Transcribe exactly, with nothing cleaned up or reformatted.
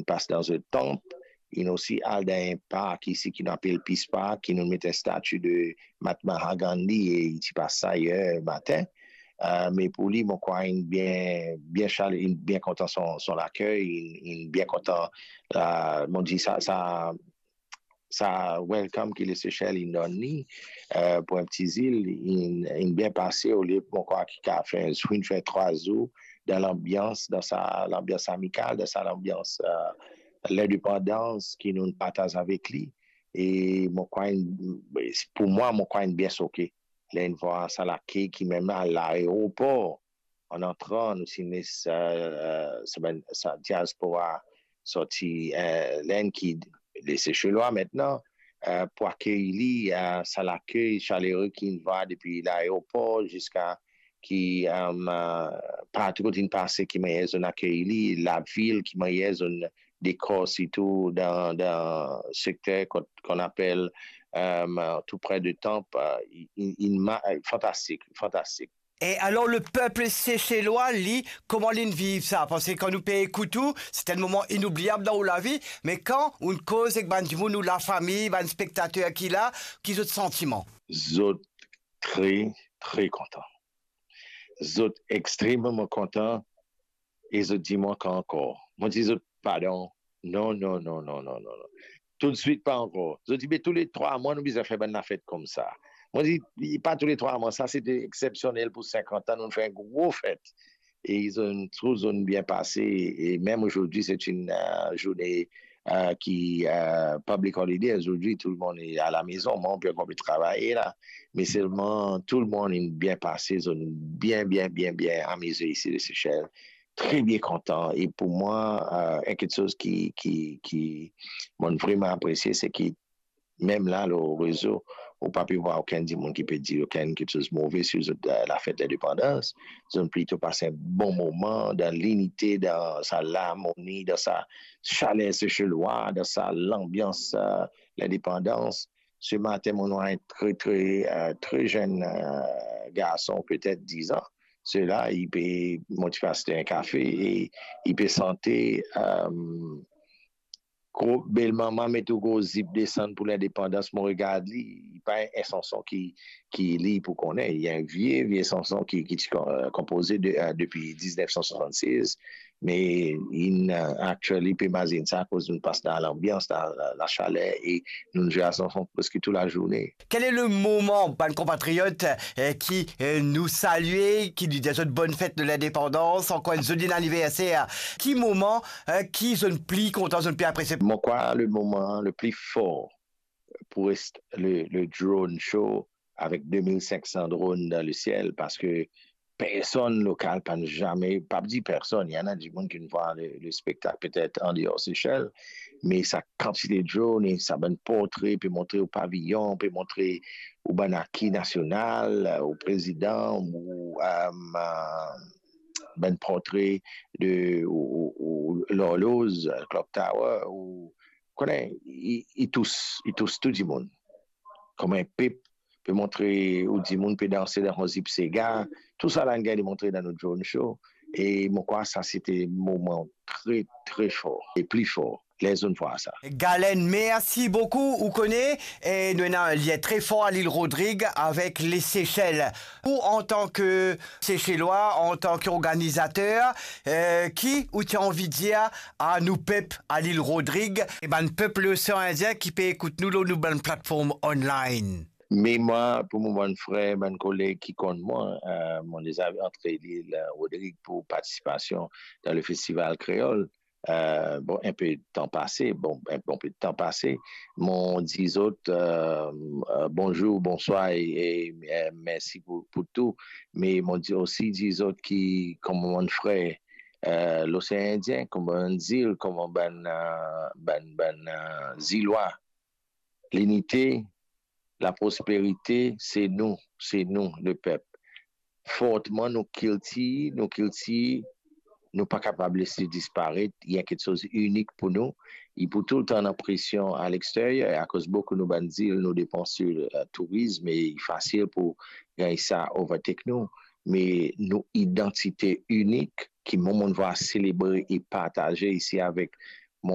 pas dan zot tanp, inn osi al dan enn park isi ki nou apel Peace Park, ki nou met enn stati de Mahatma Gandhi e li ti pas sa yer matin. Uh, me pou li, mo krwar inn bien, bien chale, inn bien kontan son, son lakey, inn, inn bien kontan, uh, mo dir sa, sa, sa welcome ki Lesechel inn donn li, uh, pou enn ti zil, inn, inn bien pase, olie mo krwar ki kapav fer, inn fer trwa zour dan lanbians, dan sa lanbians amikal, dan sa lanbians, uh, lindepandans ki nou partaz avek li. E mo krwar inn, pou mwa, mo krwar inn bien soke ler inn vwar sa lakey ki mem al laeropor, an antran, nou ti les, uh, sa bann, sa diaspora sorti, uh, Lenn ki Lesechelwa aster, uh, pou akey li, uh, sa lakey salere ki inn vwar depi laeropor ziska ki, um, uh, partou kot inn pase, ki manier zot inn akey li, lavil, ki manier zot inn dekor, sirtou dan, dan sekter kot, ki apel, um, tou pre de tanp, uh, inn, inn ma-, fantastik, fantastik. E alor, lepep Seselwa, li, kouma li inn viv sa? Parski kan nou pe ekout ou, se enn moman inoubliab dan ou lavi, me kan ou inn koz ek bann dimoun, ou lafami, bann spektater ki la, ki zot santiman? Zot tre, tre kontan. Zot extrememan kontan e zot dir mwa ankor. Mo dir zot, "Pardon, non, non, non, non, non, non, non. Toutswit pa ankor." Zot dir, "Be touletrwa mwa, nou bizin fer bann lafet koumsa." Mo dir, "Pa touletrwa mwa, sa se exepsionel pou sinkant an, nou fer enn gro fet." E zot inn trouv zot inn bien pase. E mem azordi, se enn, uh, zourne, uh, ki, uh, public holiday azordi, tou lemonn est à la maison, mwa, pe konpran travay la. Me selman, tou lemonn inn bien pase, zot inn bien, bien, bien, bien amize isi Lesechel. Tre bien kontan. E pou mwa, uh, enn kiksoz ki, ki, ki mo vreman apresie, se ki mem la, lor rezo, ou pa pe vwar okenn dimoun ki pe dir okenn kiksoz move sir zot, uh, lafet lindepandans. Zot inn plito pas enn bon moman dan linite, dan sa larmoni, dan sa saler Seselwa, dan sa lanbians, uh, lindepandans. Se matin, mo vwar enn tre, tre, uh, tre zenn, uh, garson, petet diz an. Sela, li pe, mo ti pas li enn kafe e li pe sante, um, gro, belmama met ou gro zip desann pou lindepandans, mo regard li, li pa enn sanson ki, ki li pou kone, li enn vie, vie sanson ki, ki ti kon-, euh, konpoze de, euh, depi diznef san swasannsez, me inn, euh, actually, pe imazinn sa, akoz nou pas dan lanbians, dan la, lasaler, e nou zwe sa sanson preske tou lazourne. Quel est le moment, bann konpatriot, euh, ki, euh, nou salie, ki nou dir zot bonn fet de lindepandans, ankor enn zoli aniverser? Ki moman, euh, ki zot pli kontan, zot pli apresie? Mo krwar le moman le pli for pou res le, le drone show avek de mil sink san drone dan lesiel, parski personn lokal pann zame, pa dir personn, ena dimoun ki finn vwar le, le spektak petet andeor Sesel, me sa kantite drone e sa bann portre, pe montre ou paviyon, pe montre ou bann aki nasional, ou prezidan, ou, euh, euh, bann portre de, ou, ou, ou lorloz, clock tower, ou, kone, li, li tous, li tous tou dimoun. Kouma enn pep pe montre ou dimoun pe danse dan enn zip sega, tou sa la inn gagn montre dan nou drone show. E mo krwar sa se te moman tre, tre for, e pli for, ler zot inn vwar sa. Galen, mersi boukou. Ou kone, e nou ena enn lien tre for a Lil Rodrig avek Lesesel. Ou, antan ke Seselwa, antan ki organizater, euh, ki ou ti anvi dir a nou pep a Lil Rodrig e bann pep Losean Indien ki pe ekout nou lor nou bann platform online? Me mwa, pou mo bann frer, bann koleg ki konn mwa, euh, mo deza antre Lil Rodrig pou partisipasion dan le Festival Kreol. Euh, bon, enn pe tan pase, bon, enn bon pe tan pase, mo dir zot, euh, euh, bonzour, bonswar e, e, euh, mersi pou, pou tou. Me mo dir osi, dir zot ki, kouma bann frer, euh, Losean Indien, kouma bann zil, kouma bann, euh, bann, bann, euh, Zilwa, linite, laprosperite, se nou, se nou, lepep. Fortman nou kiltir, nou kiltir, nou pa kapav les li disparet, li enn kiksoz inik pou nou. Li pou toultan annan presion a lexteryer, akoz boukou nou bann zil, nou depan sir, euh, tourism, e li fasil pou gagn sa overtake nou. Me nou idantite inik, ki mo, mo vwar selebre e partaze isi avek